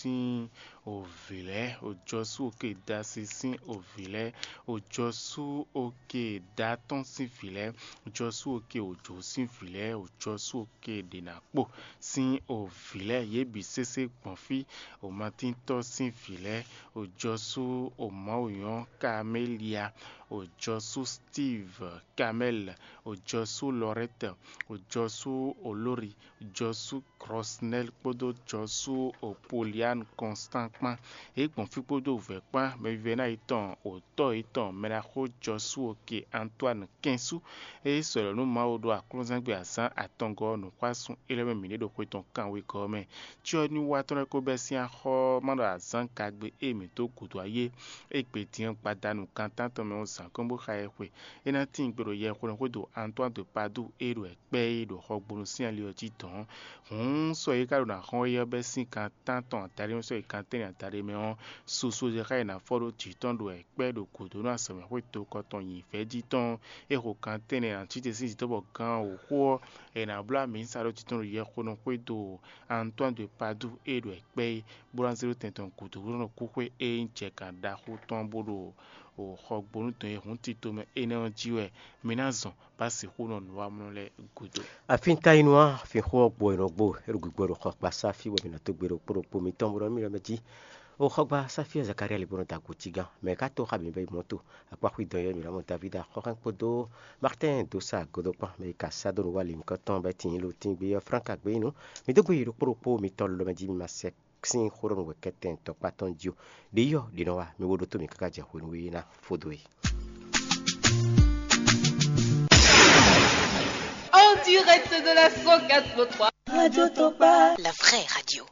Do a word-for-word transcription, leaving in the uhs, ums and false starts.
sín òvǐ lɛ́ɛ, òjɔsú òkè Dasi sín òvǐ lɛ́ɛ, òjɔsú òkè Datɔ́n sín vǐ lɛ́ɛ, òjɔsú òkè Òjò sín vǐ lɛ́ɛ, òjɔsú òkè Ɖěnakpo sín òvǐ lɛ́ɛ, yě bǐ sésé gbɔn fí, òmatíntɔ́ sín vǐ lɛ́ɛ, òjɔsú òmawunyɔ́ Kamélia, òjɔsú Steve Kamɛ́l, òjɔsú Lɔrɛ́t, òjɔsú Olóri, òjɔsú Krɔsnɛ́l kpódó jɔsú Opolian Kɔnstán kpán. Yě gbɔn fí kpódó vɛ̌ kpán, mɛvívɛ́ná yětɔn, òtɔ́ yětɔn, mɛɖaxó jɔsú òkè Antoine kɛnsú. É sɔ́ lɔ̌ nú Mawu ɖo aklúnzɛ́ngbe azǎn atɔngɔ́ ɔ́ nǔxwásún élɔ́ mɛ mǐ ɖe ɖo xwe tɔn kanwekɔ́ ɔ́ mɛ. Cyɔ́nywatɔ́ lɛ́ɛ ko bɛ́ sín axɔ́ ɔ́ má ɖo azǎn kagbe e mǐ dó gǔdo ayé é gbe din ɔ́ gbadanu kan tántɔn mɛ ɔ́ zǎn kɔn bó xa ɛ xwe. É ná tíin gbe ɖo yɛxwenu xwédo Antoine de Padoue e ɖo ɛkpɛ́ é ɖo xɔgbónu sín ali ɔ́ jí dɔ̌n. Hǔn sɔ e ka ɖo ná xɔ́n é ɔ́ bɛ́ sín kan tántɔn adaɖé mɛ sɔ́ yi kan tɛ́nnɛ adaɖé mɛ ɔ́, susu e xá yi ná fɔ ɖó jǐ tɔn ɖo ɛkpɛ́ ɖo gǔdo nú azɔ̌mɛxwé tokɔ tɔn nyǐ vɛ́ jí tɔn. É xo kan tɛ́nnɛ ná cí te sín jǐ tɔ́ bɔ gán wǒxo ɔ́, è nǎ bló amǐ sa ɖó jǐ tɔn ɖo yɛxwenu xwédo Antoine de Padoue e ɖo ɛkpɛ́ é, bó ná zé ɖó tɛn tɔn gǔdo bó nɔ kú xwé e nyí jɛ kan ɖaxó tɔn bó ɖo xɔgbónu dɔn e hǔn tito mɛ énɛ́ ɔ́ jí wɛ mi ná zɔn bá sixú nɔ nǔwamlɔ lɛ́ɛ gúdo. Afíntayinu ɔ́, finxó ɔ́ gbo è nɔ gbo, é ɖo gbigbɔ ɖo xɔ kpasá fí bɔ mǐ nɔ dó gbe ɖokpó ɖokpó mitɔn bó nɔ mí lɔ mɛ jí. O xɔgba sáfí ɔ́ Zakaria lě bó nɔ da gǒ tigán, mɛ ka tó xa bǐ bɛ yi mɔ̌ to, akpáxwí dɔn yɔ́ mǐ ná mɔ Davída xɔxɛ́n kpódó Martɛ́n dó sa agodo kpán, mɛ yi ka sá dó nǔ wá lǐnkɔ́n tɔn bɔ é tin ló tín gbé ɔ́ Flánka gbé nyí nǔ. Mǐ dó gbe yi ɖokpó ɖokpó mitɔn lɔ mɛ jí mi ma sɛ sín xó ɖɔ nǔ wɛ kɛ́tɛn tɔkpá tɔn jí o. Ɖě yí ɔ́, ɖě nɔ wá, mi wo ɖótó mǐ káká jɛ hwenu e ná fó dó é. En direct de la cent quatre point trois. Radio Tokpa. La vraie radio.